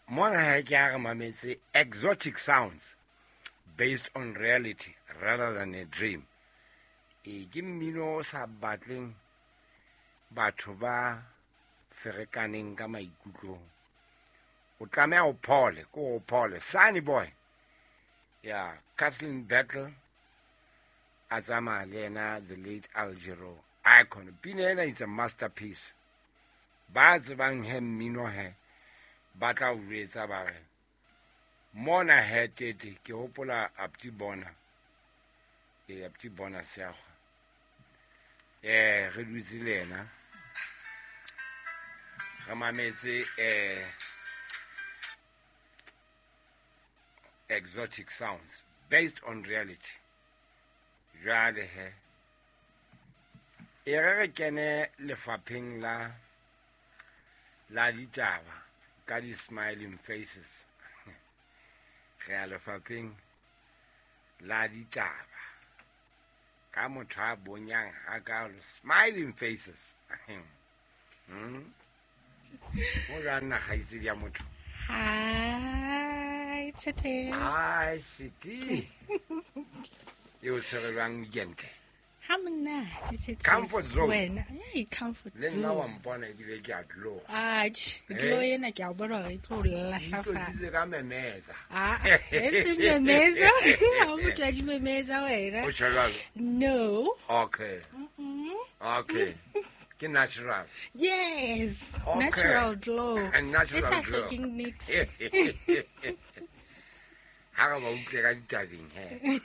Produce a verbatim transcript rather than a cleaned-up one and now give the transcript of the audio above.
Mona ha ke a re mametse Exotic Sounds, based on reality rather than a dream. E ke mmino o sa batleng batho ba ferekaneng ka maikutlong. O tlameha o phole, ko o phole. Sunny Boy. Ya, Kathleen Battle a tsamaya le yena, the late Aljero Icon. Pina ena it's a masterpiece. Ba tsebang he mmino he ba tla o jwetsa ba re mona he tete. Ke hopola Apti Bona, e Apti Bona Seagwa, eh re dutse le yena, re mametse eh Exotic Sounds, based on reality. Jwale he e re re kene lefapheng la la ditaba ka di-smiling faces. Re ya lefapheng la ditaba ka motho a bonyang hakalo, smiling faces. Hmm? Mo jwang nna, kgaitsedi ya motho? Hi, Tete. Hi, sweetie. E o tshwere jwang weekend? Ha monate, Tete. Comfort zone. Wena, hey, comfort Le nna wa zone. mpona ebile ke a tloga. Atjhe, Eh? glow ena ke a bona hore e tlo o lahlafa. Itlotsitse ka memeza. Ah, e se memeza. Ha o motho a di memeza wena. O tjho jwalo? No. Okay. Mm-mm. Okay, ke natural. Yes. Okay. Natural glow. And natural E sa glow. hlokeng niks. Ha re ba utlwe ka ditabeng he.